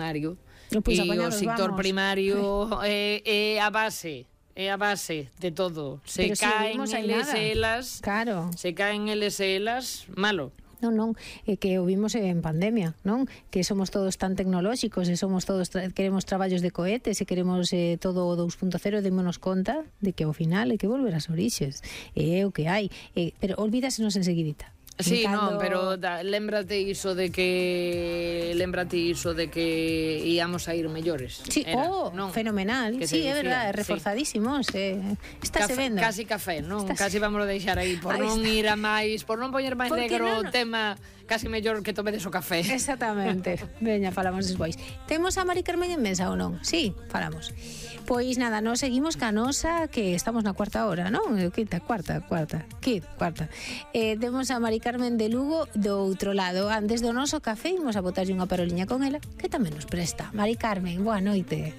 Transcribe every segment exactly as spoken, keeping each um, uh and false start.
primario. Pois E o sector vamos. primario é, é a base, é a base de todo. Se Pero si caen vimos aí eles nada. e elas, Claro. se caen eles e elas, malo. Non, non, é que o vimos en pandemia, non? Que somos todos tan tecnolóxicos e somos todos tra- queremos traballos de cohetes e queremos eh, todo o dous punto cero, démonos conta de que ao final hai que volver ás orixes. E é o que hai, e, pero olvídasenos enseguidita. Sí, Cando... non, pero da, lémbrate iso de que lémbrate iso de que íamos a ir mellores. Sí, Era, oh, non? fenomenal. Que Sí, se é dicía, verdade, sí. reforzadísimos. Eh. Está se Café, vendo. casi café, non? Estás... Casi vamos a deixar aí por Aí non está. ir a máis, por non poñer máis Por que negro non? o tema, casi mellor que tomedes o café. Exactamente. Veña, falamos despois. Temos a Mari Carmen en mesa ou non? Sí, falamos. Pois nada, nos seguimos ca nosa, que estamos na cuarta hora, non? Quinta, cuarta, cuarta, quinta, cuarta. Eh, temos a Mari Carmen de Lugo do outro lado. Antes do noso café, imos a botarlle unha paroliña con ela, que tamén nos presta. Mari Carmen, boa noite.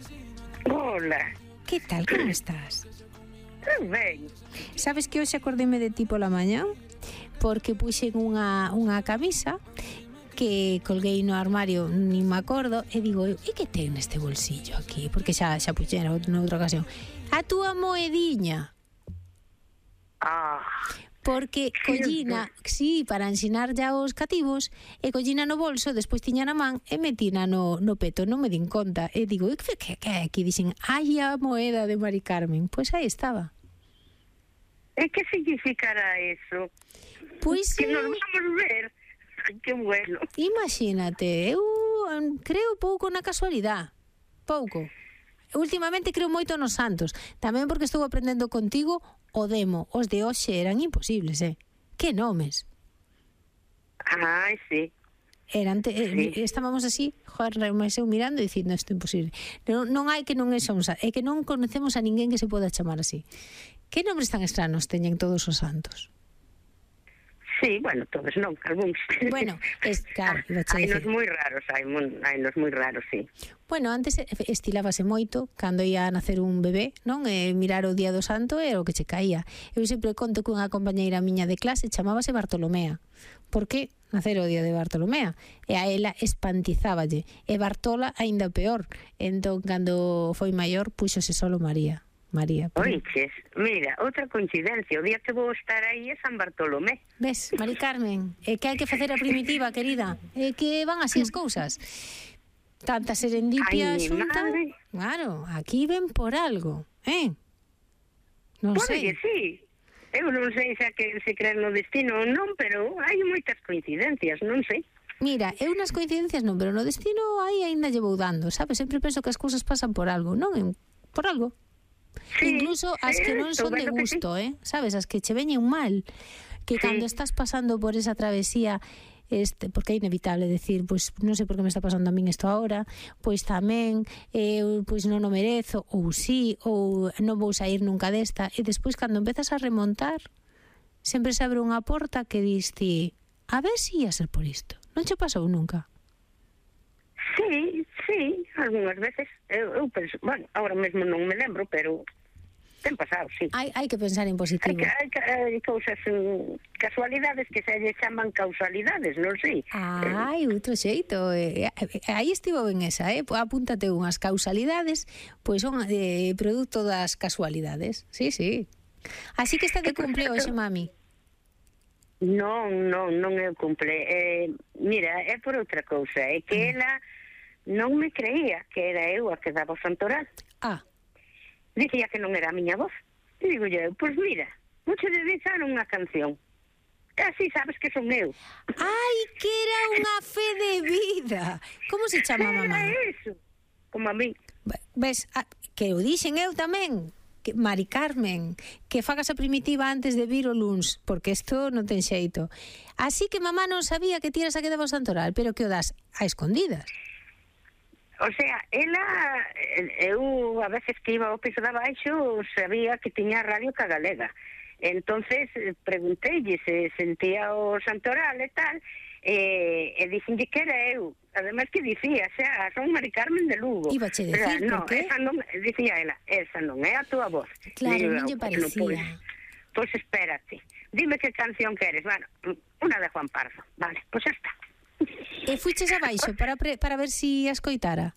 Hola, Que tal, como estás? ben. Sabes que hoxe acordeme de ti pola mañá? Porque puxen unha, unha camisa que colguei no armario, nin me acordo, e digo, e que ten neste bolsillo aquí? Porque xa, xa puxera noutra ocasión. A túa moediña. Ah, Porque collina, sí, para ensinar ya os cativos, e collina no bolso, despois tiña na man e metina no, no peto, non me din conta. E digo, que que que aquí dixen, ai a moeda de Mari Carmen. Pois aí estaba. e que significará eso? Pois Que nos eh, vamos ver. Que bueno. imagínate, eu um, creo pouco na casualidade. Pouco. Últimamente creo moito nos santos. Tamén porque estou aprendendo contigo o demo. Os de hoxe eran imposibles, eh? Que nomes. Ai, sí. Eran te, eh, Sí. estábamos así, joder, mas eu mirando e dicindo isto é imposible. Non, non hai que non é son, é que non conocemos a ninguén que se poda chamar así. Que nombres tan extranos teñen todos os santos? Sí, bueno, todos non, algúns. Bueno, es, claro, iba a hai nos decir. moi raros, hai, mon- hai nos moi raros, sí. Bueno, antes estilábase moito cando ia a nacer un bebé, non? E mirar o día do santo era o que che caía. Eu sempre conto que unha compañeira miña de clase chamábase Bartolomea. Por que nacer o día de Bartolomea? E a ela espantizáballe. E Bartola aínda peor. Entón, cando foi maior, puxose solo María. María. Pero... Oiches, mira, outra coincidencia, o día que vou estar aí é San Bartolomé. Ves, Mari Carmen, é que hai que facer a primitiva, querida. É que van así as cousas. Tanta serendipia Ai, mi xunta. madre. Claro, aquí ven por algo, eh? Non Pode sei. que sí. Eu non sei se, que, se creer no destino ou non, pero hai moitas coincidencias, non sei. Mira, eu nas coincidencias non, pero no destino aí aínda llevou dando, sabes? Sempre penso que as cousas pasan por algo, non? En- Por algo. Sí, Incluso as que non estou son de vendo que sí. gusto, eh? Sabes? As que che veñen mal. Que Sí. cando estás pasando por esa travesía, este, porque é inevitable decir, pois non sei por que me está pasando a min isto agora, pois tamén eu pois non o merezo, ou sí, ou non vou sair nunca desta, e despois cando empezas a remontar, sempre se abre unha porta que dis ti, a ver si ia ser por isto. Non che pasou nunca? Sí, sí, algunhas veces. Eu, eu penso, bueno, ahora mesmo non me lembro, pero ten pasado, sí. Hai, hai que pensar en Hai, positivo. que, hai, que- hai cousas, mm, casualidades que se lle chaman causalidades, non sei. Ai, outro xeito. Eh, eh, aí estivo ben esa, eh? Apúntate unhas causalidades, pois son eh, produto das casualidades. Sí, sí. Así que está de cumple hoxe, mami. Non, non, non é o cumple. Eh, mira, é por outra cousa, é que ela non me creía que era eu a que daba o santoral. Ah, Dicía que non era a miña voz. E digo eu, pois mira, vou che dedicar unha canción. E así sabes que son eu. ai, que era unha fe de vida. Como se chama, mamá? Era eso, como a mí. Ves, ah, que o dixen eu tamén. Que, Mari Carmen, que fagas a primitiva antes de vir o luns, porque isto non ten xeito. Así que mamá non sabía que tiras a que daba o santoral, pero que o das a escondidas. O sea, ela, eu a veces que iba ao piso de abaixo sabía que tiña radio ca galega. Entonces pregunteille se sentía o santoral e tal, e, e dixenlle que era eu. Ademais que dicía, xa, son Mari Carmen de Lugo. Ibache decir, no, por qué? esa non, dicía ela, esa non é a túa voz. Claro, Digo, non lle "Pois non, parecía. Pois, pois espérate, dime que canción queres. Bueno, unha de Juan Pardo. Vale, pois xa está. E fuches abaixo para, pre, para ver si a escoitara.